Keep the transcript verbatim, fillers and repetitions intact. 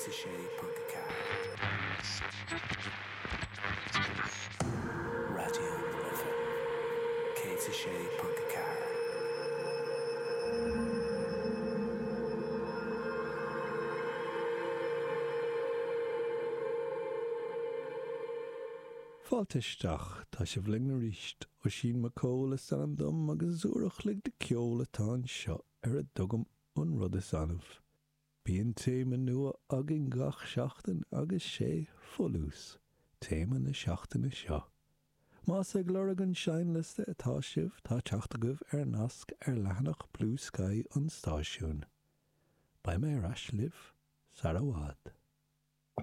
céad a sé ponc a ceathair. Raidió na Life céad a sé ponc a ceathair. Fáilte isteach, tá sibh linn arís. Oisín Mac Cóil is ainm dom agus uair a chloig de cheol atá anseo ar a dtugaim an rud is annamh. Bíonn téama nua againn gach seachtain agus sé folús téama na seachtaine seo. Más ag lorg an seinnliosta atá sibh tá teacht agaibh ar nasc ar leathanach Blue Sky an stáisiúin. Beidh mé ar ais libh sara bhfad.